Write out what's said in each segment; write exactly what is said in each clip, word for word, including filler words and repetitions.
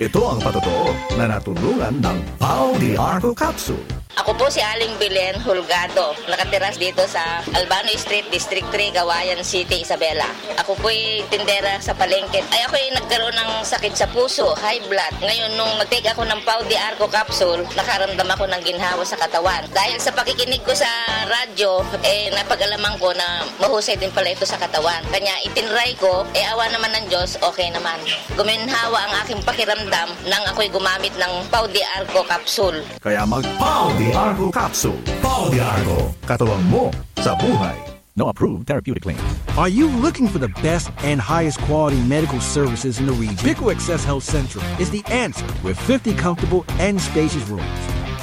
Ito ang patotoo na natulungan ng Pau de Arco Capsule. Ako po si Aling Belen Holgado. Nakatira dito sa Albano Street, District three, Cauayan City, Isabela. Ako po'y tindera sa palengke. Ay, ako'y nagkaroon ng sakit sa puso, high blood. Ngayon, nung nag-take ako ng Pau de Arco capsule, nakaramdam ako ng ginhawa sa katawan. Dahil sa pakikinig ko sa radyo, eh, napag-alaman ko na mahusay din pala ito sa katawan. Kanya, itinry ko, eh, awa naman ng Diyos, okay naman. Guminhawa ang aking pakiramdam nang ako'y gumamit ng Pau de Arco capsule. Kaya mag Pau de Arco capsule. Pau de Arco, katuwang mo sa buhay. No approved therapeutic claim. Are you looking for the best and highest quality medical services in the region? Pico Access Health Central is the answer with fifty comfortable and spacious rooms.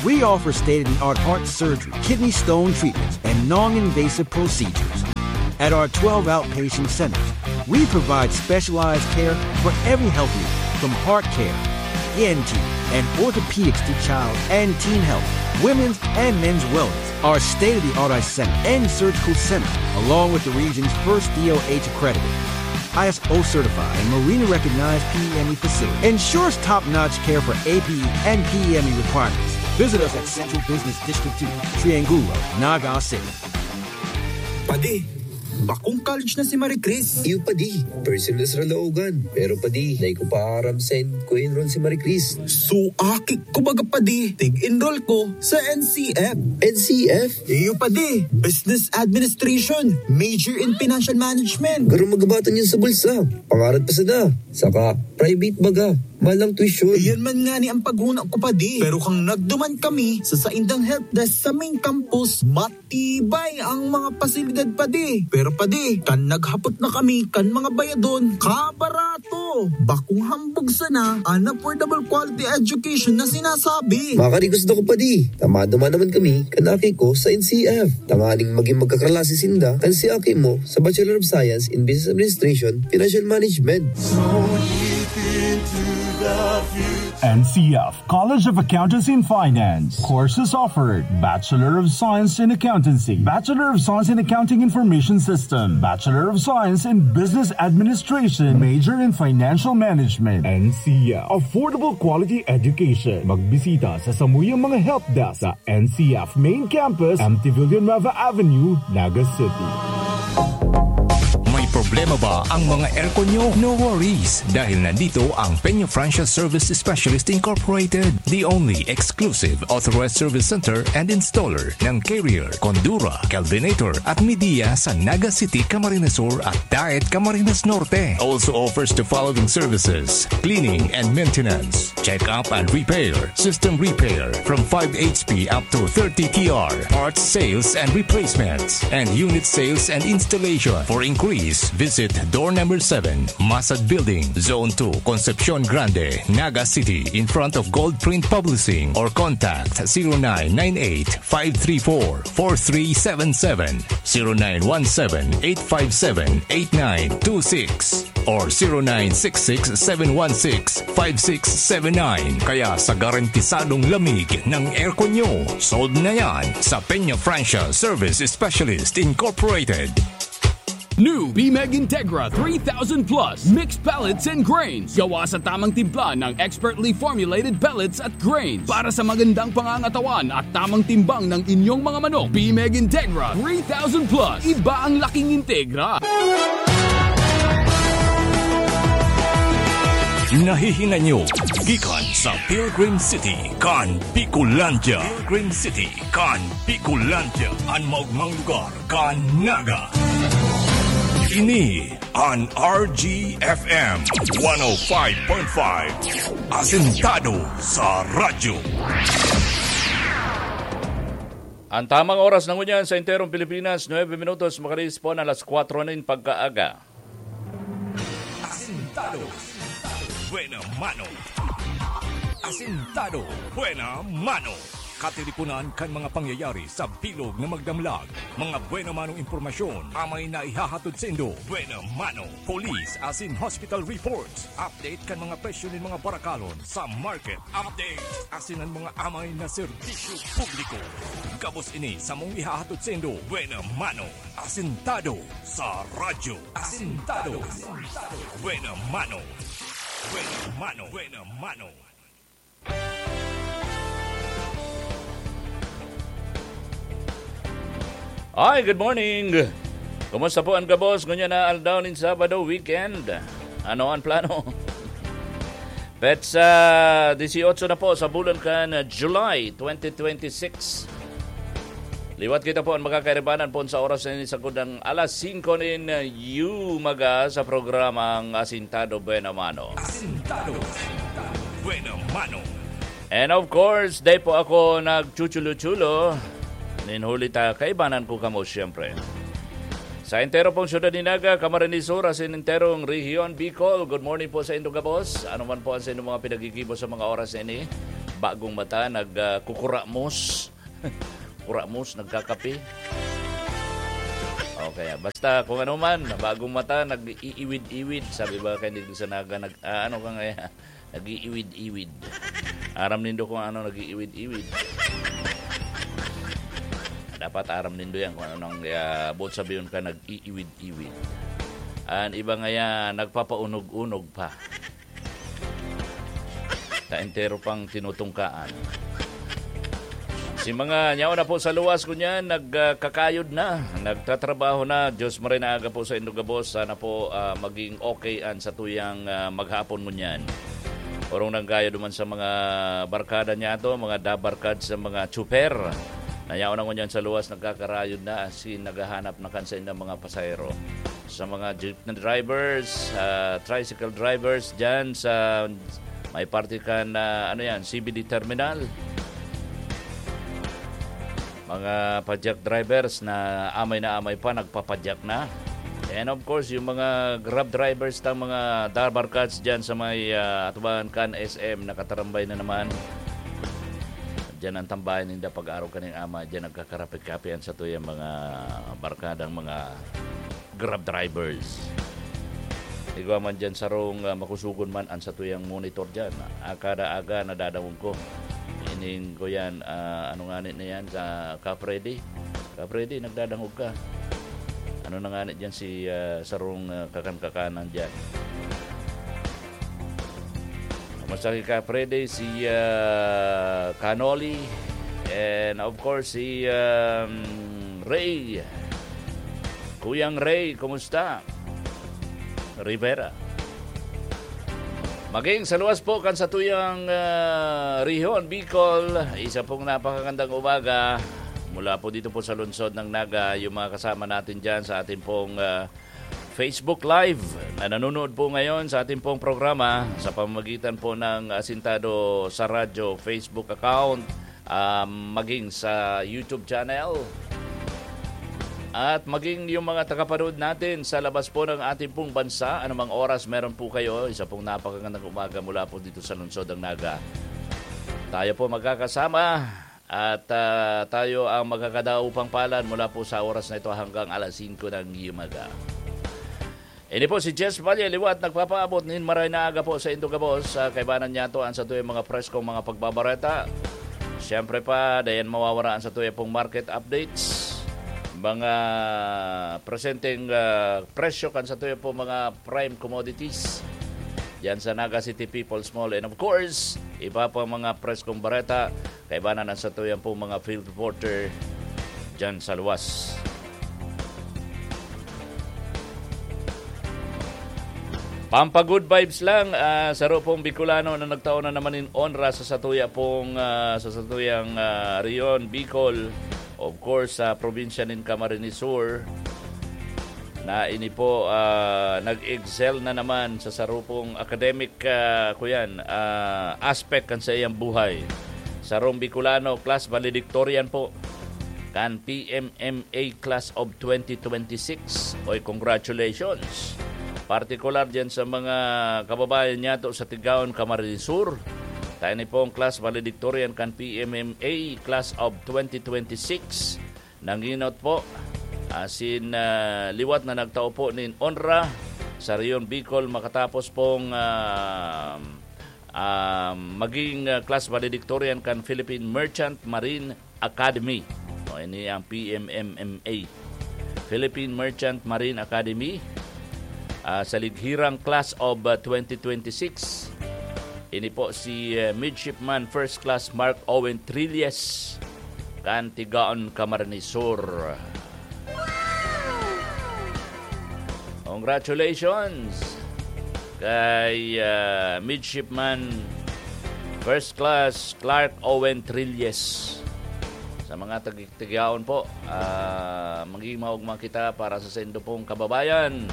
We offer state-of-the-art heart surgery, kidney stone treatments, and non-invasive procedures. At our twelve outpatient centers, we provide specialized care for every health need, from heart care, E N T, and orthopedics to child and teen health, women's and men's wellness. Our state-of-the-art eye center and surgical center, along with the region's first D O H accredited, I S O certified, and Marina recognized P E M E facility, ensures top-notch care for A P E and P E M E requirements. Visit us at Central Business District two, Triangulo, Naga City. Padi, bakong college na si Marie Chris. Iyo, padi. First year na sa Caloocan. Pero, padi, dai ko pa aram saen ko enroll si Marie Chris. So, aki ko baga, padi. Tig-enroll ko sa N C F. N C F? Iyo, padi. Business Administration. Major in Financial Management. Garo magabatan yun sa bulsa. Pangarap pa sana. Saka, private baga. Malang tuition. Iyan man nga ni ang paghuna ko, padi. Pero kan nagduman kami sa saindang helpdesk sa main campus, matibay ang mga pasilidad, padi. Pero, padi, kan naghapot na kami kan mga bayadon, kabarato. Bakong hambog sana an affordable quality education na sinasabi. Makarigos na ko, padi. Tama duman naman kami kan aki ko sa N C F. Tanganing magin magkaklase sinda kan si aki mo sa Bachelor of Science in Business Administration, Financial Management. N C F College of Accountancy and Finance. Courses offered: Bachelor of Science in Accountancy, Bachelor of Science in Accounting Information System, Bachelor of Science in Business Administration, major in Financial Management. N C F. Affordable quality education. Magbisita sa samuyang mga helpdesk sa N C F Main Campus, M T Villanueva Avenue, Naga City. May problema ba ang mga aircon nyo? No worries, dahil nandito ang Peña Francia Service Specialist Incorporated, the only exclusive authorized service center and installer ng Carrier, Condura, Kelvinator at Midea sa Naga City, Camarines Sur at Daet, Camarines Norte. Also offers the following services: cleaning and maintenance, check-up and repair, system repair from five H P up to thirty T R, parts sales and replacements, and unit sales and installation. For inquiries, visit door number seven, Masad Building, Zone two, Concepcion Grande, Naga City, in front of Gold Print Publishing, or contact zero nine nine eight, five three four, four three seven seven, zero nine one seven, eight five seven, eight nine two six, or zero nine six six, seven one six, five six seven nine. Kaya sa garantisadong lamig ng aircon nyo, sold na yan sa Peña Francia Service Specialist Incorporated. New Bimeg Integra three thousand Plus Mixed Pellets and Grains. Gawa sa tamang timpla ng expertly formulated pellets at grains para sa magandang pangangatawan at tamang timbang ng inyong mga manok. Bimeg Integra three thousand Plus. Iba ang laking Integra. Nahihinay nyo gikan sa Pilgrim City kan Bicolandia. Pilgrim City kan Bicolandia, an maogmang lugar kan Naga. Ini an R G F M one oh five point five, asentado sa radyo. Ang tamang oras na ngunyan sa enterong Pilipinas, nuebe minutos makalipas po na alas kwatro nin pagkaaga. Asentado. Buena mano. Asentado. Buena mano. Katiriponan kan mga pangyayari sa bilog na magdamlag. Mga buena manong impormasyon, amay na ihahatod saindo. Buena mano. Police asin hospital reports. Update kan mga presyo nin mga barakalon sa market. Update asin an mga amay na serbisyo publiko. Gabos ini samong ihahatod saindo. Buena mano. Asentado sa radyo. Asentado. Buena mano. Buena mano. Buena mano. Hi, good morning. Kumusta po ang gabos ngunyan na aldaw nin Sabado, weekend? Ano ang plano? Petsa dieciocho na po sa bulan kan July twenty twenty-six. Liwat kita po ang makakairibanan po sa oras na ini, sagkod ang alas singko nin yumaga sa programang Asintado Buena Mano. Asintado Buena Mano. And of course, dai po ako nagchuchulo-chulo. Nin huli ta, kaibanan ko kamo, siyempre. Sa entero pong syudad ni Naga, Camarines Sur, asin enterong Rehiyon Bicol, good morning po sa indo gabos. Ano man po ang sa inyong mga pinagigibo sa mga oras na ini? Bagong mata, nag, ah, kukuramos. Kuramos, nagkakape. Okay, basta kung ano man, bagong mata, nag-iiwid-iwid. Sabi ba kayo dito sa Naga, nag, ah, ano ka ngayon? Nag-iiwid-iwid. Aram nindo kung ano nag-iiwid-iwid. Dapat aram nindo yan kung ano nang, ah, buot sabihin ka, nag-iiwid-iwid. An iba nga yan, nagpapaunog-unog pa. Ta entero pang tinutungkaan. Si mga nyawa na po sa luwas ko niyan, nagkakayod na, nagtatrabaho na. Diyos maray na aga po sa indo gabos. Sana po, ah, maging okay an satuyang, ah, maghapon ngunyan. Orong nang gayo duman sa mga barkada niya to, mga dabarkad sa mga tsuper. Nayaon na ngunyan sa luwas, nagkakarayod na, asin naghahanap na kan sa ilang mga pasahero. Sa mga jeepney drivers, ah, tricycle drivers dyan sa may parte kan, ah, ano yan, C B D terminal. Mga padyak drivers na amay na amay pa, nagpapadyak na. And of course, yung mga Grab drivers tang mga dabarkads dyan sa may, ah, atubangan kan S M, nakatarambay na naman. Diyan ang tambayan ninda pag-araw kaning ama, diyan nagkakarapit-kapian sa tuyang mga barkadang mga Grab drivers. Igwa man dyan sarong, ah, makusugon man ang satuyang monitor dyan. Ah, kada aga nadadangog ko. Ining ko yan, ah, ano nga ni na yan, sa Ka Freddy? Ka Freddy, nagdadangog ka. Ano na nga ni dyan si, ah, sarong, ah, kakan-kakanan dyan? Kumusta ki Ka Freddy, si, ah, Kanoli, and of course, si, um, Ray. Kuyang Ray, kumusta? Rivera. Maging sa luwas po kan satuyang, ah, rehiyon, Bicol, isa pong napakagandang umaga mula po dito po sa lungsod ng Naga, yung mga kasama natin dyan sa ating pong, ah, Facebook Live na nanonood po ngayon sa ating pong programa sa pamamagitan po ng Asintado sa Radyo Facebook account, ah, maging sa YouTube channel. At maging yung mga tagapanood natin sa labas po ng ating pong bansa, anumang oras meron po kayo, isa pong napakagandang umaga mula po dito sa lungsod ng Naga. Tayo po magkakasama at, ah, tayo ang magkakadaupang palad mula po sa oras na ito hanggang alas singko ng umaga. Ini po si Jess Valle, liwat nagpapaabot nin maray na aga po sa indo gabos. Sa kaibanan niya to, ang satuyang mga preskong mga pagbabareta. Siyempre pa, dayan mawawara ang satuyang pong market updates. Mga presenteng, ah, presyo kan satuyang pong mga prime commodities. Yan sa Naga City People's Mall. And of course, iba pang mga preskong bareta, kaibanan ang satuyang pong mga field reporter dyan sa luwas. Pampa-good vibes lang, ah, saro pong Bicolano na nagtao na naman nin onra sa satuya pong, ah, sa satuyang, ah, rehiyon, Bicol. Of course, sa probinsya nin Camarines Sur, na ini po, ah, nag-excel na naman sa saro pong academic, ah, kuyan, ah, aspect kan sa iyang buhay. Sarong Bicolano, class valedictorian po kan P M M A Class of twenty twenty-six. Oy, congratulations! Partikular dyan sa mga kababayan niya to sa Tigaon, Camarines Sur. Tayo ni pong class valedictorian kan P M M A Class of twenty twenty-six. Nanginot po. Asin, ah, liwat na nagtao po nin onra sa Rehiyon Bicol makatapos pong, ah, ah, maging, ah, class valedictorian kan Philippine Merchant Marine Academy. O, ini ang P M M M A. Philippine Merchant Marine Academy. ah, sa lighirang class of, ah, twenty twenty-six. Ini po si, ah, Midshipman First Class Mark Owen Trilles, kan Tigaon, Camarines Sur. Congratulations kay, ah, Midshipman First Class Clark Owen Trilles. Sa mga tagi-, Tigaon po, ah, magiging maugma kita para sa saindo pong kababayan.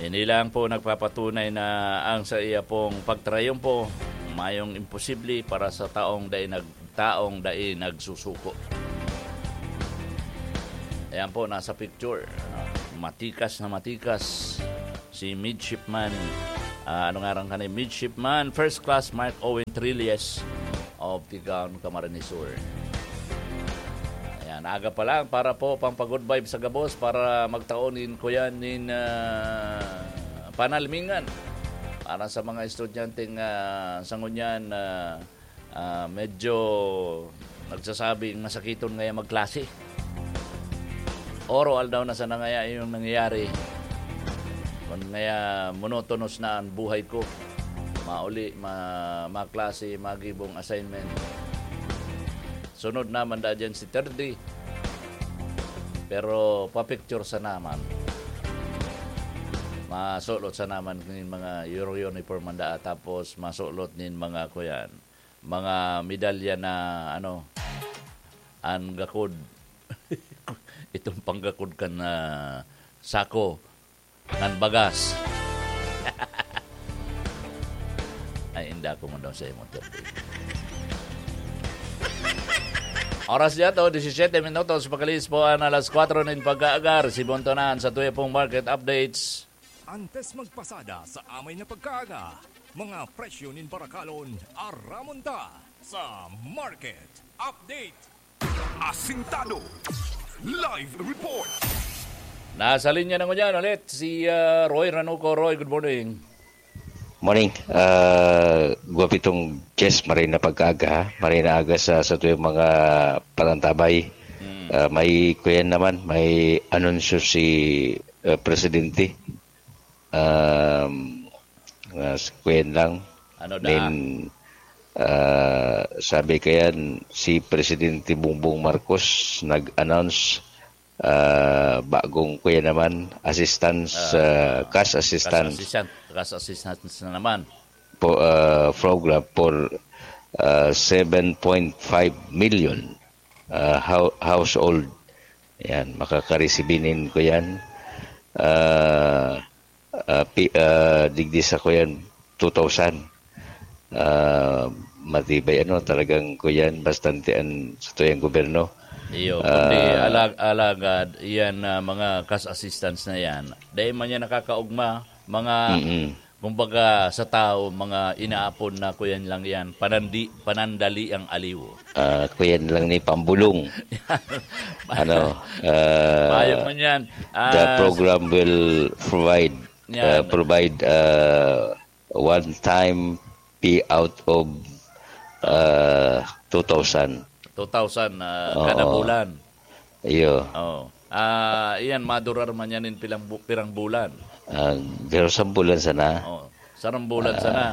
Ini lang po nagpapatunay na ang sa iya pong pagtrayumpo, mayong imposible para sa taong dai nag-, taong dai nagsusuko. Ayan po, nasa picture. Ano, matikas na matikas si Midshipman, ah, ano ngaran ka ni Midshipman First Class Mark Owen Trilles of Tigaon, Camarines Sur. Ayan, aga pa lang para po pampag-good vibe sa gabos, para magtaon nin kuyan nin, ah, panalmingan. Para sa mga estudyanteng, ah, sa ngunyan, ah, ah, medyo nagsasabing masakiton ngaya magklase. Oral daw na sana ngaya yung nangyayari. Kun ngaya monotonous na ang buhay ko. Mauli, ma-, maklase, magibong assignment. Sunod naman da dyan si thirty. Pero papicture sa naman. Masulot sa naman nin mga Euro uniform man daa, tapos masulot nin mga kuyan, mga medalya na ano, an gakod. Itong panggakod kan, ah, sako, kan bagas. Ay, inda ko man daw sa imo, thirty. Oras niya to, disisyete minutos, pakalihis po an alas kwatro nin pagkaaga. Sibontonan sa tuya pong market updates. Antes magpasada sa amay na pagkaaga, mga presyo nin barakalon, aramon ta sa market update. Asintado. Live report. Nasa linya na ngunyan ulit si, ah, Roy Ranuco. Roy, good morning. Morning. Ah, gwapitong Jess, maray na pagkaaga, ha? Maray na aga sa, sa tuyang mga panantabay. Mm. Ah, may, kuyan naman, may anunsyo si, ah, Presidente. Um, ah, kuyan lang. Ano da? Nin, ah, sabi kayan, si Presidente Bongbong Marcos nag-announce, ah, bagong, kuya naman, assistance, Ah, ah, cash assistance. Cash assistance, cash assistance na naman. Po, ah, program for, ah, seven point five million, ah, hou-, household. Yan, makakaresibi nin kuyan. Ah, ah, pi-, ah, digdi sa kuyan, two thousand. Ah, matibay, ano, talagang kuyan, bastante an satuyang gobyerno. Iyo, kundi Ah, alag-, alagad, iyan na mga cash assistance na yan, dahil man yan nakakaugma, mga, Mm-mm. kumbaga, sa tao, mga inaapon na kuyan lang yan, panandi-, panandali ang aliw. Ah, kuyan lang ni pambulong. Ano, ah, Payag man yan. The Ah, program will provide, Yan. ah, provide, ah, one-time payout of, ah, two thousand. Two thousand, ah, Oo. kada bulan. Iyo. Oo. Ah, iyan, madurar man yan in pilang bu-, pirang bulan. Ah, pero sa bulan sana. Oo. Sarang bulan Ah, sana.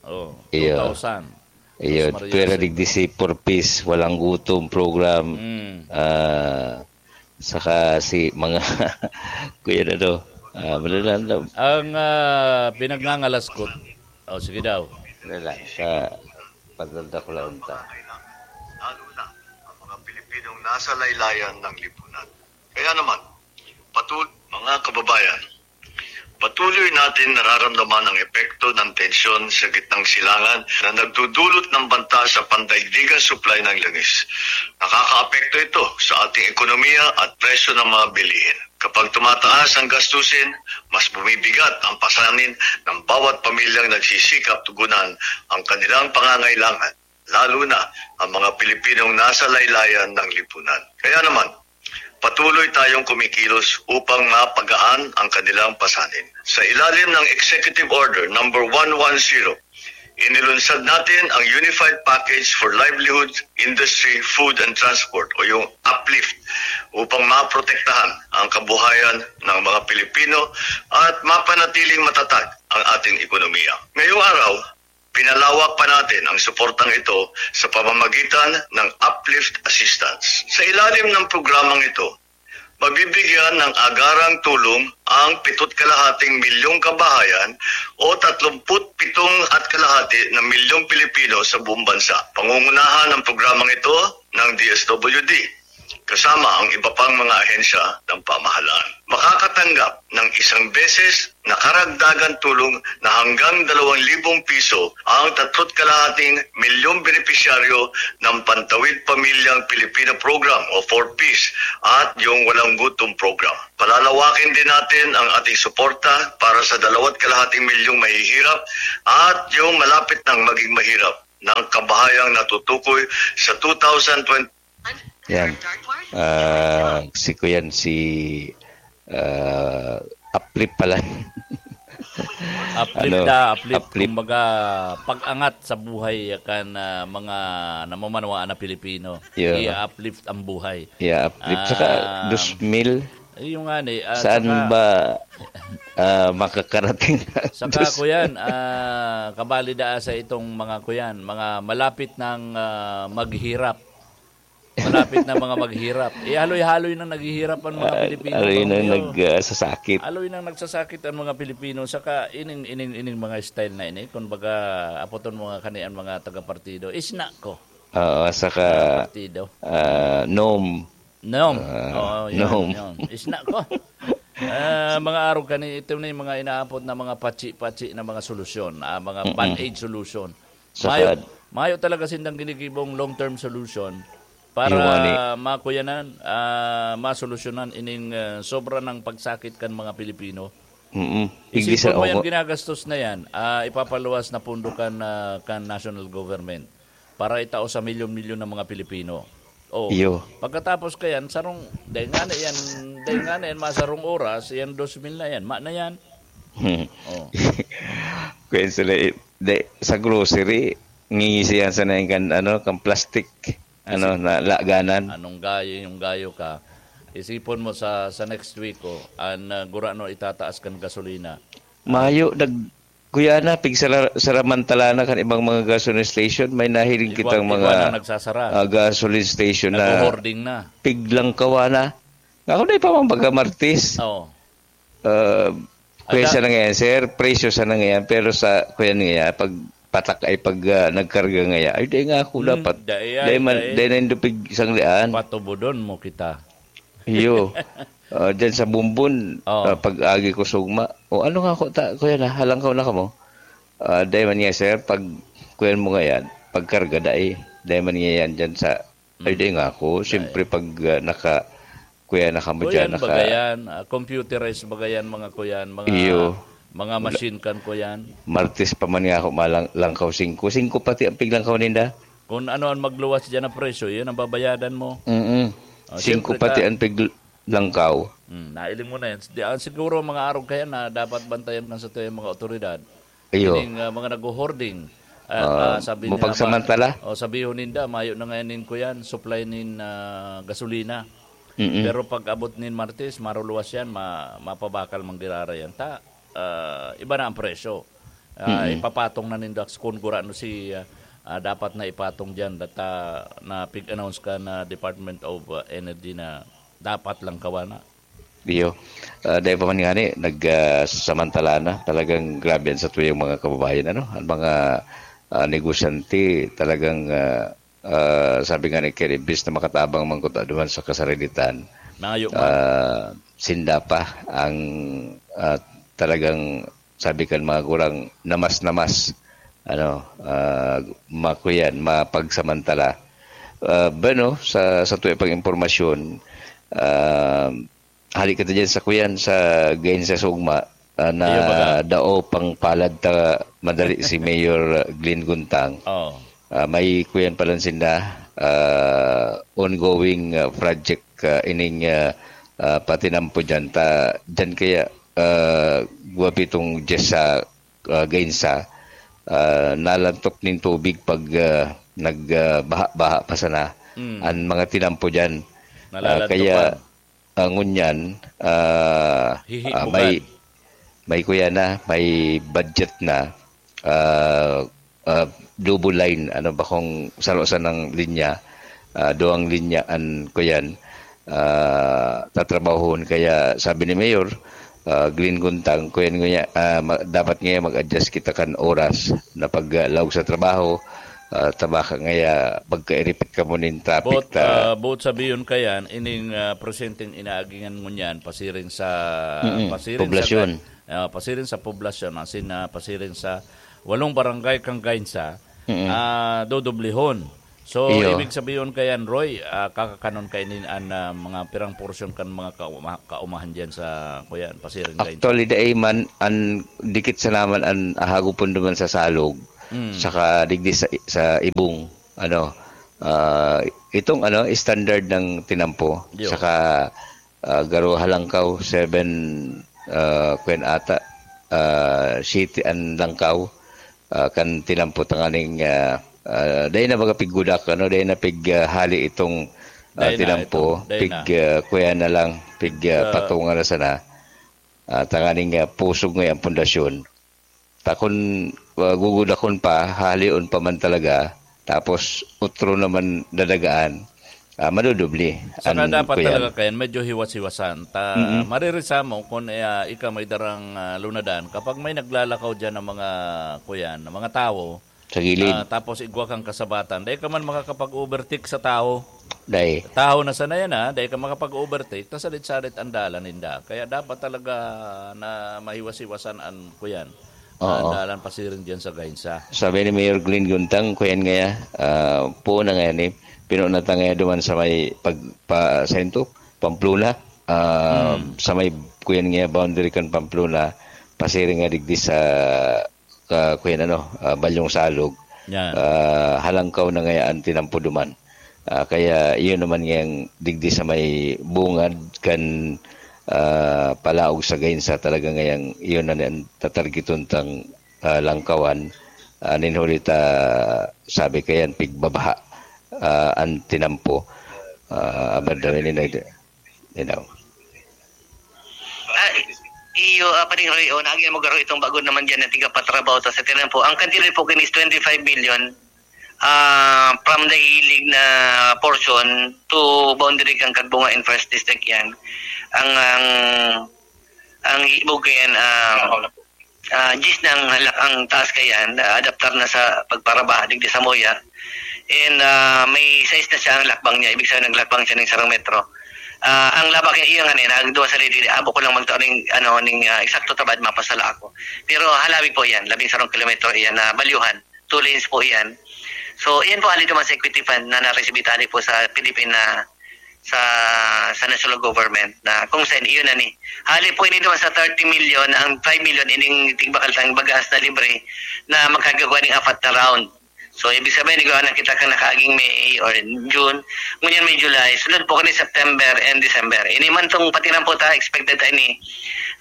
Oo. iyo. Two thousand. Iyo, Sus Maria, pwera Jose. Digdi si Four Ps, walang gutom program. Mm. Ah, saka si mga, kuya na to, ah, wala na, na. Ang, ah, pinagngangalas ko. Oh, sige daw. Wala lang, sa pagdadakulaon ta. Lalo na ang mga Pilipinong nasa laylayan ng lipunan. Kaya naman, patul-, mga kababayan, patuloy natin nararamdaman ang epekto ng tensyon sa gitnang silangan na nagdudulot ng banta sa pandaigdigang supply ng langis. Nakakaapekto ito sa ating ekonomiya at presyo ng mga bilihin. Kapag tumataas ang gastusin, mas bumibigat ang pasanin ng bawat pamilyang nagsisikap tugunan ang kanilang pangangailangan, lalo na ang mga Pilipinong nasa laylayan ng lipunan. Kaya naman, patuloy tayong kumikilos upang mapagaan ang kanilang pasanin. Sa ilalim ng Executive Order number one one zero, Inilunsad natin ang Unified Package for Livelihood, Industry, Food and Transport o yung UPLIFT upang maprotektahan ang kabuhayan ng mga Pilipino at mapanatiling matatag ang ating ekonomiya. Ngayong araw, pinalawak pa natin ang suportang ito sa pamamagitan ng UPLIFT Assistance. Sa ilalim ng programang ito, mabibigyan ng agarang tulong ang pito't kalahating milyong kabahayan o tatlumput pitong at kalahati na milyong Pilipino sa buong bansa. Pangungunahan ang programang ito ng D S W D, kasama ang iba pang mga ahensya ng pamahalaan. Makakatanggap ng isang beses na karagdagan tulong na hanggang dalawang libong piso ang tatlu't kalahating milyong benepisyaryo ng Pantawid Pamilyang Pilipino Program o four Ps at yung Walang Gutom Program. Palalawakin din natin ang ating suporta para sa dalawat kalahating milyong mahihirap at yung malapit nang maging mahirap ng kabahayang natutukoy sa two thousand twenty. Yan. Ah, si Kuyan, si ah, uplift pala. Uplift Ano? na, uplift, Uplift. Kumbaga, pag-angat sa buhay kan ah, mga namamanwaan na Pilipino. Yeah. I-uplift ang buhay. Yeah, uplift. Saka, Ah, dos mil, eh, yung nga ni, ah, saan saka, ba ah, makakarating? Saka, Dos- Kuyan, ah, kabali daa sa itong mga Kuyan, mga malapit ng ah, maghirap. Malapit na mga maghirap. Eh, haloy-haloy nang naghihirap ang mga Pilipino, haloy nang Romeo. Nagsasakit. Haloy nang nagsasakit ang mga Pilipino. Saka ining, ining, ining mga style na ini, kung baga, apoton mo nga kani ang mga taga-partido, isna ko. Oo, saka, Partido. ah, nom. Nom. Ah, Oo, yun, nom. Yun. Isna ko. Ah, mga arog kani, ito na yung mga inaapot na mga patsi-patsi na mga solusyon, ah, mga band-aid solution. Saka, mayo, mayo talaga sindang ginigibong long-term solution para Iwani. makuyanan, ah, masolusyonan ining ah, sobra ng pagsakit kan mga Pilipino. Mm-mm. Igdi Isipon sa mo yan, ongo. Ginagastos na yan, ah, ipapaluwas na pundo kan, ah, kan national government para itao sa milyon-milyon ng mga Pilipino. Oh, Iyo. Pagkatapos kayan, sarong, dahil nga na yan, dahil nga na yan, masarong oras, yan dos mil na yan, ma na yan. Hmm. Oh. Kaya sila, eh, de, sa grocery, ngingisi yan sa nang kan, ano, kan plastic, ano, na laganan. Anong gayo, yung gayo ka. Isipon mo sa sa next week, oh, an uh, gurano itataas kan gasolina. Mayo, nag, kuya na, pig sara- saramantala na kan ibang mga gasoline station, may nahiling Igwa- kitang igwa mga na nagsasara. Ah, gasoline station na Nagho-hoarding na. Piglangkawa na. Ako na ipamambaga Martis. Oo. Ah, kuya Ada- sa nangayan, sir, presyo sa nangayan, pero sa kuya niya, pag patak ay pag ah, nagkarga ngaya, ay, dahil nga ako Hmm, dapat. dai ay, Dahil man, dai. Dahil na yung dupig isang lian. Patubodon mo kita. Iyo. Ah, diyan sa Bumbon, Oh. Ah, pag-agi ko sugma. O ano nga ako, ta, kuya na, halangkaw na kamo. Ah, dahil man nga, sir, pag kuyan mo ngayan, pagkarga dai. Dahil man nga yan dyan sa, ay, dahil nga ako. Siyempre, pag ah, naka, kuya na kamo dyan, Kuyan, naka, bagayan, ah, computerized bagayan, mga kuyan, mga, Iyo. Mga machine kan kuyan. Martes pa man nga ako malang, langkaw singko. Singko pati ang piglangkaw ninda. Kung ano ang magluwas dyan na presyo, yun ang babayadan mo. Mm-mm. Oh, Singko siyempre pati ka- ang piglangkaw. Hmm, nailing mo na yan. Di, ah, siguro mga arog kaya na dapat bantayan kan sa tuyang mga otoridad. Iyo. Ining ah, mga nag-hoarding. Ah, Ah, ah, sabi nila, mapagsamantala? Ma- oh, sabihon ninda, mayo na ngayon nin kuyan, supply nin ah, gasolina. Mm-mm. Pero pag abot nin Martes, maruluwas yan, ma- mapabakal manggirara yan. Ta, ah, iba na ang presyo. Ah, Mm-mm. Ipapatong na ninda kung gurano si ah, ah, dapat na ipatong diyan data na pig-announce ka na Department of ah, Energy na dapat lang kawana. Iyo. Ah, dahil pa man nga ni, nag ah, samantala na, talagang grabe yan sa tuyang mga kababayan, ano? Ang mga ah, negosyante, talagang ah, ah, sabi nga ni Ken, imbis na makatabang man kuta duman sa kasarilitan, Mayo man. Ah, sinda pa ang ah, talagang, sabi kan mga gurang, namas-namas, ano, ah, makuyan, mapagsamantala. Ah, bueno, sa sa tuya pang impormasyon, ah, hali ka dyan sa kuyan sa Gain sa Sugma, ah, na Iyo, baga. Dao pang palad ta madali si Mayor Glenn Guntang. Oh. Ah, may kuyan pa lang sinda, ah, ongoing ah, project ah, ining ah, ah, patinampo dyan. Ta, dyan kaya ah, guwapi itong Jess sa ah, Gainsa. ah, nalantok nin tubig pag, ah, nag, ah, baha-baha pa sana Mm. an mga tinampo diyan. Ah, Nalalantokan. kaya, ah, ngunyan, ah, Hihi ah, bugad. may, may kuya na, may budget na, ah, ah, double line, ano, bakong saro-sanang linya, ah, duwang linya an kuyan, ah, tatrabahon. Kaya sabi ni Mayor, ah, Glenn Guntang, kuyan ngunyan, ah, ma-, dapat ngayon mag-adjust kita kan oras na pag, ah, laog sa trabaho, ah, tabaka ngaya pagkairipit ka mo nin traffic Both, ta ah, both sabiyon kayan, ining, ah, presenteng inaagingan ngunyan, pasiring sa, Mm-mm. pasiring sa Poblasyon. ga-, ah, pasiring sa poblasyon, asin, ah, pasiring sa walong barangay kan Gainsa, Mm-mm. ah, dodoblihon. So, Iyo. ibig sabihin kayan, Roy, ah, kakakanon kainin an, ah, mga pirang porsyon kan mga kauma-, kaumahan diyan sa, kuyan, pasiring Gainsa. Actually, dai man, an dikit sa naman an ahagupon duman sa Salog, Mm. saka digdi sa, sa Ibong, ano, ah, itong, ano, standard ng tinampo, Yo. saka, ah, garo halangkaw, seven, ah, kwen ata, ah, city an langkaw, ah, kan tinampo tanganing, ah, ah, dai na baga piggudak, ano, dai na pig, ah, hali itong, ah, Dai na tinampo, ito, dai pig, na. ah, kuya na lang, pig, Pig, ah, ah, patunga na sana. Ah, tanganing, ah, pusog nga ang pundasyon. Ta kun, ah, gugudakon pa, hahalion pa man talaga, tapos otro naman dadagaan, ah, madudubli Saka an dapat kuyan. talaga kayan, medyo hiwas-hiwasan. Ta, Mm. maririsamon kun, eh, ah, ika may darang, ah, lunadan. Kapag may naglalakaw diyan ng mga, kuyan, ng mga tawo, Sa gilid. ah, tapos igwa kang kasabatan, dai ka man makakapag-overtake sa tawo. Dai. Tawo na sana yan, ah, dai ka makapag-overtake, tas salit-salit ang dalan ninda. Kaya dapat talaga na mahiwas-hiwasan an, kuyan, Oo. ang dalan pasiring diyan sa Gainsa. Sabi ni Mayor Glenn Guntang, kuyan ngaya, ah, puo na ngaya ni, pinuo na ta ngaya duman sa may pag-, pa, sa into, Pamplona, ah, Hmm. sa may, kuyan ngaya, boundary kan Pamplona, pasiring nga digdi sa, ah, kuyan ano, ah, Balyong Salog, Yan. ah, halangkaw na ngaya an tinampo duman. Ah, kaya iyon naman ngayang digdi sa may bungad kan, ah, palaog sa Gainsa talaga ngayang iyon na an tatargeton tang, ah, langkawan. Ah, nin huli ta sabi kayan pigbabaha, ah, an tinampo. Ah, abad na rin na, you know. Ah, iyo, ah, Paring Roy, oh, naagi mo garo itong bago naman diyan na tiga patrabaho ta sa tinampo. Ang kantidad po kini is twenty-five million, ah, from the hilig na portion to boundary kan Kagbunga in First District yan. Ang, ang, ang hibog ko yan, ah, ah, diyes na ang halak-, ang taas kayan, ah, adaptar na sa pagparaba, digdi sa Moya. And, ah, may sais na siya ang lakbang niya, ibig sabihin naglakbang siya ng sarong metro. Ah, ang labak niya, iyo nga ni, nagduwa sa lidi, abo ko lang magtao ning, ano, ning, ah, eksakto tabad, mapasala ako. Pero halabi po yan, labing sarong kilometro iyan na balyuhan. Two lanes po iyan. So, iyan po, ali naman sa equity fund na naresibita ali po sa Philippine na sa, sa national government na kung saan iyon na ni. Hali po ini naman sa thirty million, ang five million ining tigbakal tang bagas na libre na magkagagawa ning apat na round. So, ibig sabihin, igawa na kita kan nakaaging May or June, ngunyan may July, sunod po kani September and December. Ini man tong patiran po ta, expected ta ini,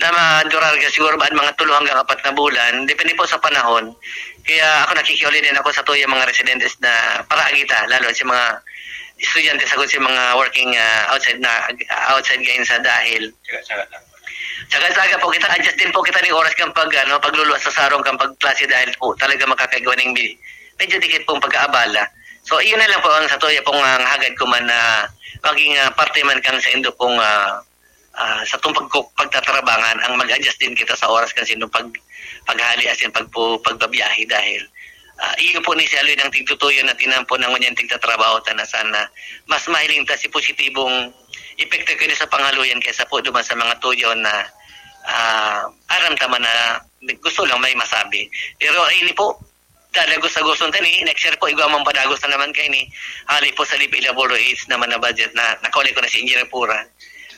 na madurar ka siguro ba mga tulo hanggang apat na bulan, depende po sa panahon. Kaya ako nakikiuli din ako sa tuya mga residentes na paraagi ta, lalo sa mga estudyante, sagkod sa mga working, ah, outside na, outside gayon sa dahil. Tsaga-tsaga lang. Tsaga-tsaga po kita, adjust din po kita ning oras kan pag, ano, pagluluwas sa sarong kan pagklase dahil po talaga makakagawa ning bi-, medyo dikit pong pagkaabala. So, iyon na lang po ang sa tuya pong, ah, hagad ko man na maging, ah, parte man kang sa indo pong, ah, ah, sa tong pagku-, pagtatrabangan, ang mag-adjust din kita sa oras kan sino pag-, paghali asin pagpu-, pagbabiyahe dahil, ah, iyo po ni si Aloy nang tigtutuyo na tinampo na ngunyan tigtatrabaho ta na sana mas mahiling ta si positibong epekto kini sa panghaluyan kaysa po duman sa mga tuyo na, ah, aram ta man na gusto lang may masabi. Pero ini po, Dagos-dagoson ta ni, next year po, igwa man padagos na naman kaini. Hali po sa Lipi Labor Aids naman na budget na nakauli ko na si Engineer Pura.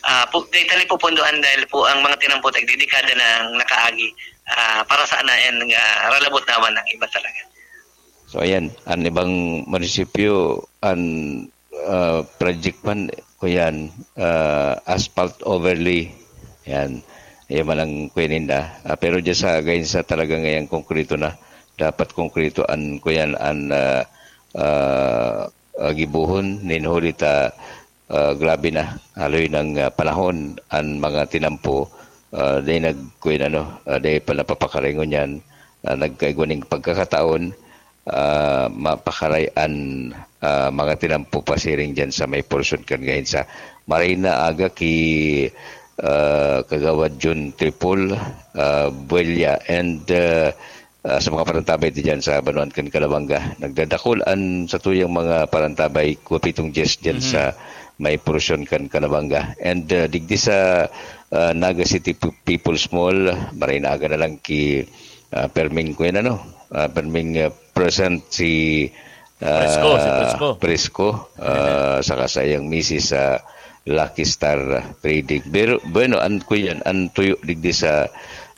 Ah, po, dahil tani po pundoan dahil po ang mga tinampo tagdidekada nang nakaagi, ah, para sa anayan nga ralabot naman ang iba talaga. So, ayan, ang ibang munisipyo, ang ah, project man, kuyan, ah, asphalt overlay. Yan. Yan man ang kuya ninda. Ah, pero dyan sa Gainsa talaga ngayang konkreto na. dapat konkreto an, kuyan, an, ah, ah, ah, gibohon, nin huli ta, ah, grabe na, haloy nang, ah, panahon an mga tinampo, ah, dai nag-, kuyan, ano, ah, dai pa napapakaringon yan, ah, nagkaigwa ning pagkakataon, ah, mapakaray an, ah, mga tinampo pasiring diyan sa may porsyon kan Gahinsa. Maray na aga ki, ah, Kagawad Jun Tripol, ah, Buella, and, ah, ah, sa mga parantabay diyan sa banwaan kan Calabanga. Nagdadakul an satuyang mga parantabay, kuwapitong dyes diyan Mhm. sa may porsyon kan Calabanga. And, ah, digdi sa, ah, Naga City Pu-, People's Mall, maray na aga na lang ki, ah, Perming, kuyan, ano, ah, Perming, ah, present si, ah, Presko, si Presko. Presko, ah, saka sa iyang misis sa Lucky Star Trading. Pero, bueno, an, kuyan, an tuyo digdi sa,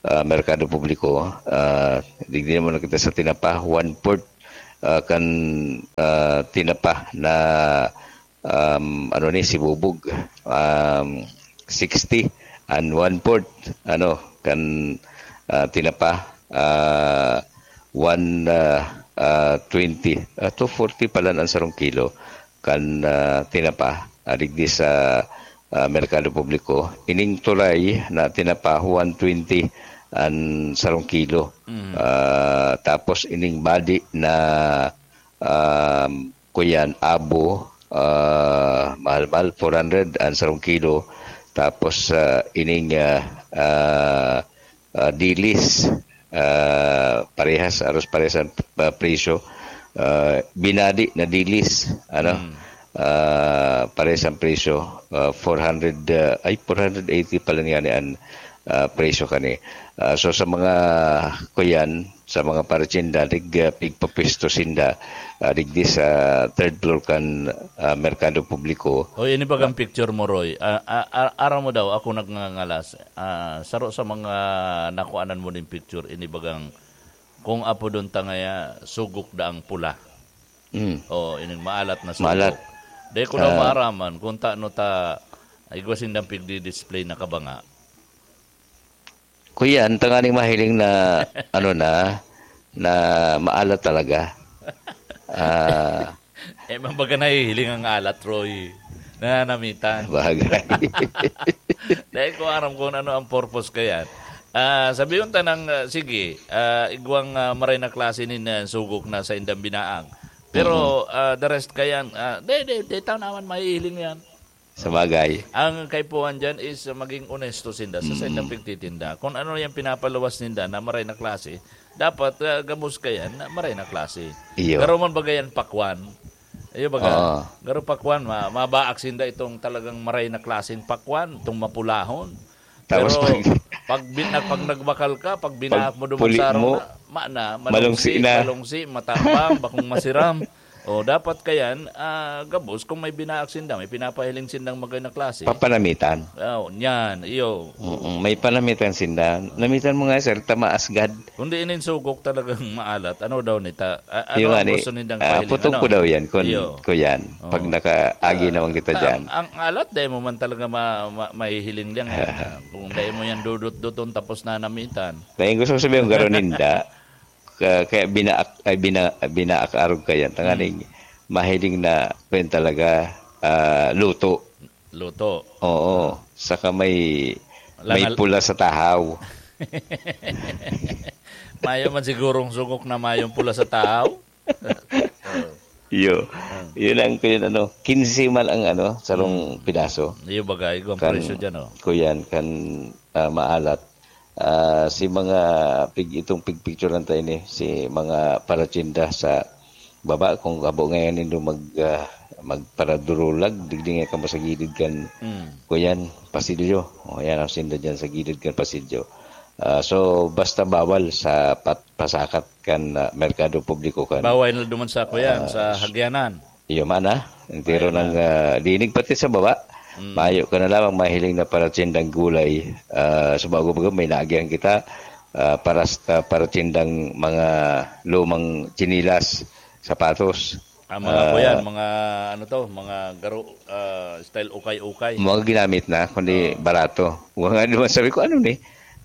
ah, merkado publiko, ah, digdi naman kita sa tinapa, one-fourth, ah, kan, ah, tinapa na, um, ano ni, sibubog, um, sixty and one-fourth, ano, kan, ah, tinapa, ah, one, ah, ah, twenty, ah, two forty pala an sarong kilo kan, ah, tinapa, ah, digdi sa, ah, merkado publiko. Ining tulay na tinapa, one twenty an sarong kilo. Mm. Ah, tapos ining badi na, um, kuyan, abo, ah, mahal-mahal, four hundred an sarong kilo. Tapos, ah, ining, ah, ah, ah, dilis, ah, parehas, aros parehas ang, ah, presyo. Ah, binadi na dilis, ano, Mm. ah, parehas ang presyo, ah, four hundred, ah, ay, four hundred eighty pala niya ni an, ah, presyo kani. Ah, so, sa mga kuyan, sa mga parachinda, dig, ah, pigpapisto sinda, ah, digdi sa third floor kan, ah, merkado publiko. O, ini bagang picture mo, Roy. Ah, ah, ah, aram mo daw, ako nagngangalas. Ah, saro sa mga nakuanan mo ning picture, ini bagang kung apodon ta ngaya, sugok daang pula. Mm. O, ining maalat na sugok. Maalat. Dai ko daw Ah. maaraman kung tano ta igwa sindang pigdi-display na kabanga. Kuya, ang tanganing mahiling na, ano na, na maalat talaga. Ah. Eh, man baga nahihiling ang alat, Roy. Nananamitan. Bagay. Dahil ko aram kung ano ang purpose kayan. Ah, sabihon ta nang, ah, sige, ah, igwang, ah, maray na klase nin, ah, sugok na sa indang binaang. Pero, Mm. ah, the rest kayan, ah, de, de, de, tao naman mahihiling yan. Sabagay. Ang kaipuhan diyan is, uh, maging onesto sinda sa saindang Mm. pagtitinda. Kung ano yung pinapaluwas ninda na maray na klase, dapat, uh, gabos kayan na maray na klase. Iyo. Garo man baga yan pakwan. Iyo baga, Oo. garo pakwan, ma-, mabaak sinda itong talagang maray na klaseng pakwan, itong mapulahon. Tapos Pero pag pag bin-, pag nagbakal ka, pag binaak mo duman puli sa araw mo, na, ma-, na, malungsi malungsi, na. malungsi, matabang, bakong masiram. O, dapat kayan, ah, gabos kung may binaak sinda, may pinapahiling sindang magay na klase. Papanamitan. Oh, niyan, iyo. Mm, may panamitan sinda. Namitan mo nga, sir, tamaas gad. Kundi inin sugok talagang maalat, ano daw nita? A-, ano Yung ang ani, gusto nindang ah, pahiling, putok ano? ko daw yan, kun, Iyo. kuyan. Pag Oo. nakaagi Ah, naman kita ah, dyan. ang, ang alat, dahil mo man talaga ma-, ma-, mahihiling lang. Ah, kung dahil mo yan dudot-duton tapos na namitan. Dahil gusto ko sabihin, garo ninda, ka-, kaya binaak, ay, bina-, binaak arog kayan. Tanganing Hmm. mahiling na pen talaga, ah, luto. Luto. Oo. Saka may, may Langal- pula sa tahaw. Mayo man sigurong sugok na mayong pula sa tahaw. Iyo. Ah. Yun ang, yun, ano, quince man ang, ano, sarong Hmm. pidaso. Iyo bagay, kung Kan, presyo dyan, oh. kuyan, kan, ah, maalat. Ah, si mga pig-, itong pigpicturan tayo ni, si mga paratsinda sa baba, kung habo ngayon nindo mag, ah, magparadurulag, digdi nga kamo sa gilid kan, Mm. kuyan, pasilyo. O, yan ang sinda dyan sa gilid kan pasilyo. Ah, so, basta bawal sa pat-, pasakat kan, ah, merkado publiko kan. Bawal na duman sa, kuyan, Ah, sa hagyanan. Iyo man, ah. Entero Ayun nang, na. ah, dinig pati sa baba. Mm. Mayo ka na lamang mahiling na paratsindang gulay. Ah, sa bago-bago, may naagihan kita. Ah, paras-, ah, paratsindang mga lumang tsinilas, sapatos. Ah, mga Ah, kuyan, mga ano to, mga garo, ah, style ukay-ukay. Mga ginamit na, kundi Oo. barato. Wa nga naman sabi ko, "Ano ni?"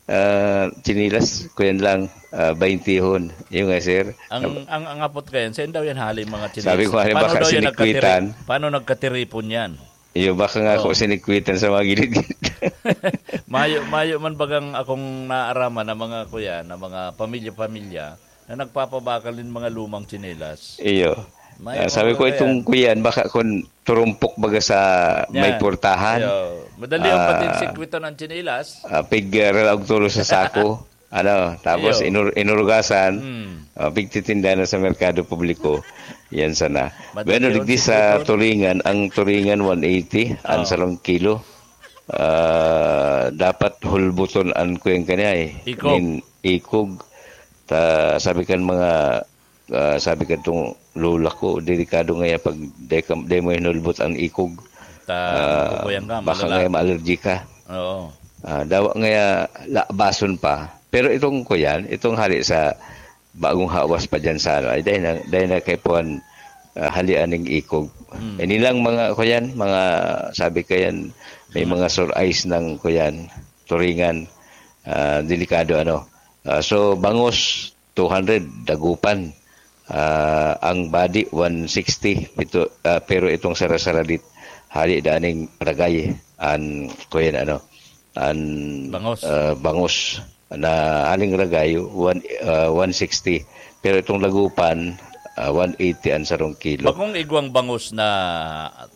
Ah, tsinelas, kuyan lang, ah, baintihon. Yung nga, sir. Ang, ang, ang apot kayan, saan daw yan hali mga tsinelas? Sabi ko, "Ano ba Paano ka daw yan sinikwitan?" nagkatiri-, paano nagkatiripon yan? Iyo, baka nga Oo. ako sinikwitan sa mga gilid-gilid. Mayo, mayo man bagang akong naaraman na mga kuya, na mga pamilya-pamilya, na nagpapabakal nin mga lumang tsinelas. Iyo. Mayo Ah, man sabi ko, baga itong yan. kuyan, baka kung turumpok baga sa may Yan. portahan. Iyo. Madali yung Ah, patin sikwitan ang tsinelas. Ah, pig, ah, ralaog tulo sa sako. Ano, tapos Iyo. inur-, inurugasan, Hmm. ah, pigtitinda na sa merkado publiko. Yan sana. Madali Bueno, yun, digdi sa siguro. Turingan, ang Turingan, one eighty, ang Oo. sarong kilo. Ah, dapat hulbuton an kuyan kanya eh. Ikog. Nin ikog. Ta, sabi kan mga, ah, sabi kan tong lola ko, delikado nga yan pag di ka, di mo hinulbot ang ikog. Ta, Ah, makukuyan ka, baka malala. nga maalergi ka. Oo. Ah, dawa nga labason pa. Pero itong kuyan, itong hali sa bagong hawas pa dyan sa ano, ay dahil na, dahil na kay Puan, ah, halian ning ikog. Mm. Ini lang mga kuyan, mga sabi kayan, may Mm. mga sur-ice ng kuyan, Turingan, ah, delikado ano. Ah, so, bangus, two hundred, dagupan. Ah, ang badi, one sixty, pito, ah, pero itong sarasaradit, hali daning ragay, an, kuyan ano, an, Bangus. ah, bangus na haling ragay, one, ah, one sixty. Pero itong dagupan, ah, one eighty an sarong kilo. Bakong igwang bangus na,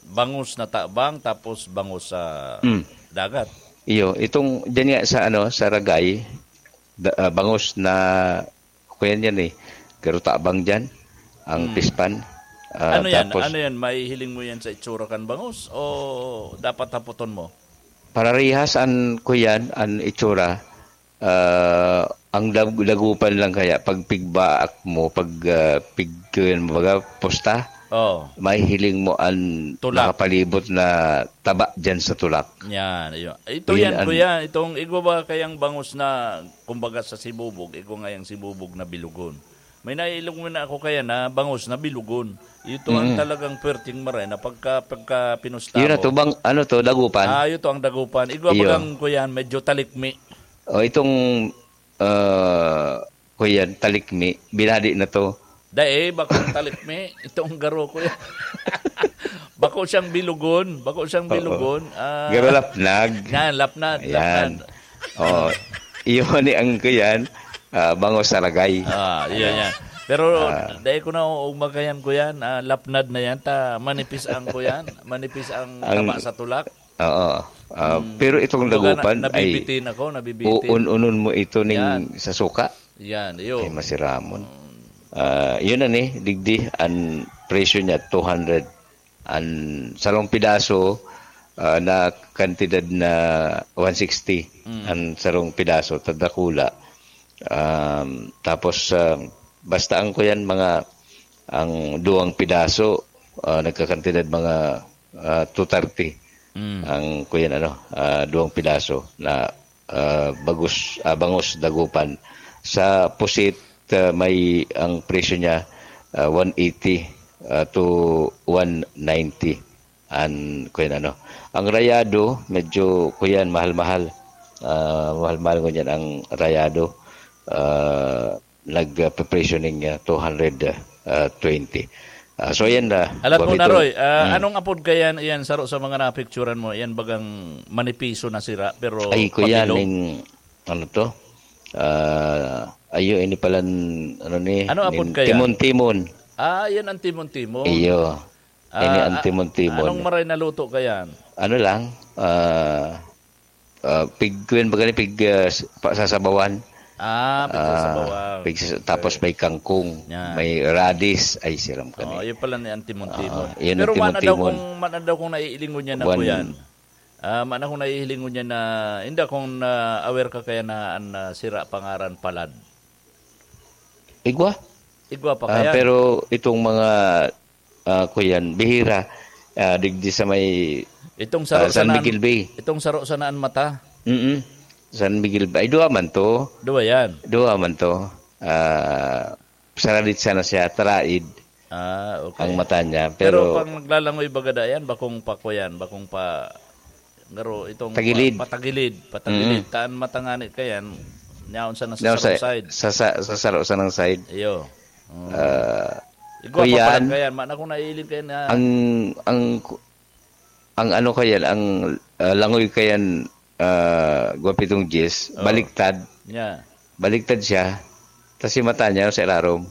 bangus na tabang, tapos bangus sa Mm. dagat. Iyo, itong, dyan nga sa, ano, sa ragay, da-, ah, bangus na, kuyan yan eh, garo tabang dyan, ang Hmm. pispan. Ah, Ano yan? tapos Ano yan? Mahihiling mo yan sa itsura kan bangus? O dapat haputon mo? Pararihas an, kuyan, an itsura. Ah, ang dag-, dagupan lang kaya, pag pigbaak mo, pag, ah, pig-, kuyan mo, baga, pusta, Oo. mahihiling mo an Tulak. nakapalibot na taba dyan sa tulak. Yan, ayun. Ito Yun yan, an kuya. Itong igwa ba kayang bangus na, kumbaga, sa sibubog, igwa ngayang sibubog na bilugon. May naiilong mo na ako kaya na bangus na bilugon. Ito ang Mm. talagang perting maray na pagka, pagka pinusta Yun na mo. to, bang, ano to, dagupan? Ah, ito ang dagupan. Igwa Iyo. bagang, kuya, medyo talikmi. O, itong, ah, kuyan, talikmi, binadi na to. Dai, bakong talikmi. Itong garo, kuya. Bako siyang bilugon. Bako siyang Oo. bilugon. Ah, Garo lapnag. Yan, lapnad, Ayan. lapnad. Oo. Iyon ni ang kuyan, ah, bango sa ragay. Ah, iya, Ano? yan. Pero Ah. dai ko na uugma kayan, kuyan. Ah, lapnad na yan. Ta, manipis ang kuyan. Manipis ang Ang taba sa tulak. Oo. Ah, Hmm. pero itong Kumbaga, na-, dagupan ay nabibitin ako, nabibitin. uun-unon mo ito ning Yan. sa suka. Yan, iyo. Ay, masiramon. Hmm. Ah, yun na ni, digdi, ang presyo niya, two hundred. Ang sarong pidaso, ah, na kantidad na one sixty. Hmm. Ang sarong pidaso, tadakula. Um, tapos, ah, basta ang kuyan, mga, ang duwang pidaso, ah, nagkakantidad mga, ah, two thirty. Mm. Ang kuyan, ano, ah, duwang pidaso na, ah, bagus, ah, bangus dagupan. Sa pusit, ah, may, ang presyo niya, ah, one eighty, ah, to one ninety. An, kuyan, ano. Ang rayado, medyo, kuyan, mahal-mahal. Ah, mahal-mahal ngunyan ang rayado. Ah, nagpe-presyo ning, ah, two hundred, ah, twenty. Ah, so, yan na, Alat mo na, Guapito. Roy, ah, Hmm. anong apod kayan, iyan, saro sa mga napicturan mo? Iyan bagang manipiso na sira, pero Ay, kuyan, pabilog? ning, ano to? Ah, ayo, ini palan, ano ni, Ano apod nin kayan? timon-timon. Ah, yan ang timon-timon. Iyo. Ah, Ini ang ah, timon-timon. anong maray na luto kayan? Ano lang, ah, ah, pig, kuyan ba gani, pig, ah, s-, pa-, sasabawan. Ah, pig Ah, sasabawan. pig sas-, tapos Okay. may kangkong, Yan. may radis. Ay, siram ka Oh, ni. yun pala ni ang timon-timon. Ah, yun ang Pero mana daw timon-timon. kung, mana daw kung naiilingon niya na One kuyan. Ah, mana kung naiilingon niya na, hindi akong na-aware ka kaya na, na sira pangaran palad. Igwa? Igwa pa Ah, kaya? pero itong mga, ah, kuyan, bihira, ah, digdi sa may, Itong saro ah, San sana an, Miguel Bay. itong saro sana an mata. Mm-mm. San Miguel Bay. Ay, duwa man to. Duwa yan. Duwa man to. Ah, saradit sana siya, taraid Ah, okay. ang mata niya. Pero Pero pag naglalangoy baga da yan, bakong pa kuyan, bakong pa Garo itong Tagilid. pa-, patagilid, patagilid. Mm. Taan matangani kayan, nyaon sa nasa No, sa, sarong side. sa, sa, sa saro sa nang side. Iyo. Mm. Ah, Igwa pa pala kuyan, kayan, mana kung naiiling kayan na ang, ang, ang ano kayan, ang, ah, langoy kayan, ah, gwapitong Jis, Oh. baliktad. Yeah. Baliktad siya. Tas si mata niya sa irarom.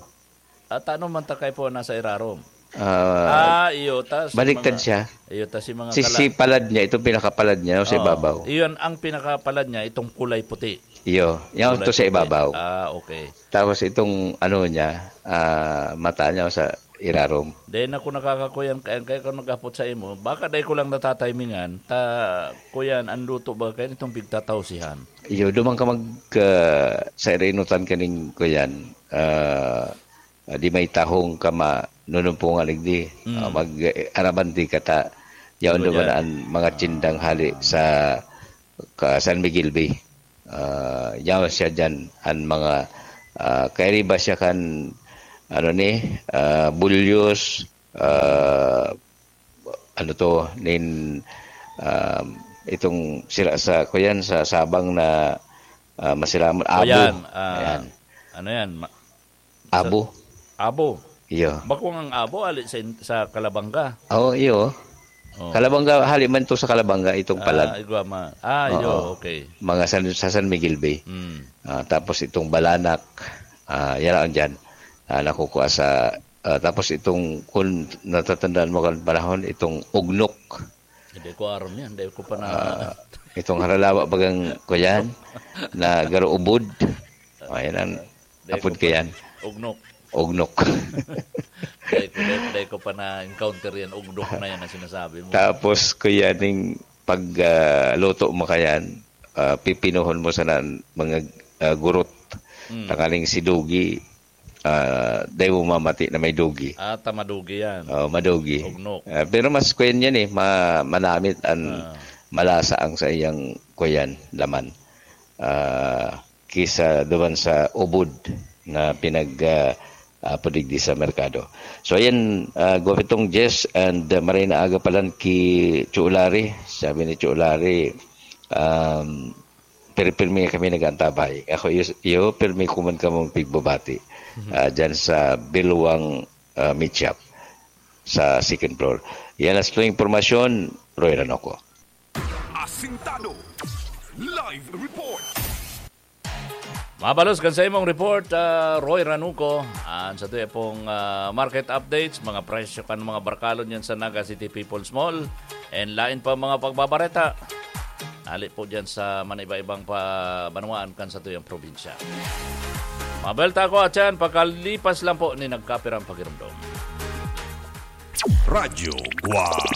At ano man ta kay po nasa irarom? Ah, Ah, iyo, ta si baliktad mga, siya. iyo, ta si mga Si, kala- si palad niya, itong pinakapalad niya, no, sa Oo. ibabaw. Iyon ang pinakapalad niya, itong kulay puti. Iyo, yan Kulay to sa puti. ibabaw. Ah, okay. Tapos itong ano niya, ah, mata niya sa irarom. Dahil na kung nakakakuyan, kaya, kaya kung nag-apot sa imo, baka dahil ko lang natatimingan, ta, kuyan, ang luto ba kayo itong pigtatawsihan? Iyo, duman ka mag, ah, sa irinutan kaning kuyan, ah, ah, di may tahong ka ma-, nunumpungan igdi. Mm. Ah, mag, eh, arabandi ka ta. Yaon Iba duman dyan. ang mga Ah. tindang hali sa ka-, San Miguel Bay. Ah, yaon siya dyan, ang mga, ah, kairiba siya kan, ano ni, ah, bulyos, ah, ano to, nin, ah, itong sila sa, kuyan, sa Sabang na, ah, masiramon, abo. Ayan, ah, Ayan. ano yan? Ma-, Abo. Sa, abo. Iyo. Bakong ang abo, ali sa in-, sa Kalabanga. Oo, iyo. Oh. Kalabanga, hali man to sa Kalabanga, itong Ah, palad. igwa ma-, ah, iyo, Oo. okay. Mga San, sa San Miguel Bay. Mm. Ah, tapos itong balanak, ah, yan ang dyan. Ah, nakukuha sa, ah, tapos itong, kung natatandaan mo kan panahon, itong ugnok. Hindi ko aram yan, hindi ko pa na- Ah, itong haralawa bagang, kuyan, na garo ubod. Oh, yan ang Dai apod ko pa, kayan. Ugnok. Ugnok. Dai ko, dai, dai ko pa na-encounter yan, ugnok na yan ang sinasabi mo. Tapos, kuya, ning pag, ah, luto mo kayan, ah, pipinuhon mo sana ang mga, ah, gurot. Mm. Tanganing si Dugi, ah, dai mo mamati na may Dugi. Ah, ta madugi yan. Oh, madugi. Ugnok. Ah, pero mas kuyan yan eh, ma-, manamit ang Ah. malasa ang sa iyang kuyan, laman. Ah, kisa duman sa ubod na pinag, ah, ah, pudigdi sa merkado. So, ayan, ah, Gopitong Jess and, ah, Marina Aga palan ki Chulari. Sabi ni Chulari, um, "Pirmi-pirmi kami nag-aantabay." Ako, iyo, iyo, pirmi ko man kamo pigbabati, Mhm. ah, dyan sa Bilwang, ah, Meat Shop sa second floor. Yan ang sa impormasyon, Roy Ranoco. Asintado. Live report. Mabalos kan sa imong report, ah, Roy Ranuco. An sa tuya pong, ah, market updates, mga presyo kan mga barkalon yan sa Naga City People's Mall. And lain pa mga pagbabareta. Ali po dyan sa maniba-ibang pa banwaan kan sa tuyang probinsya. Mabelta ko at yan, pagkalipas lang po ni nagkapirang pagirumdom. Radyo Guam.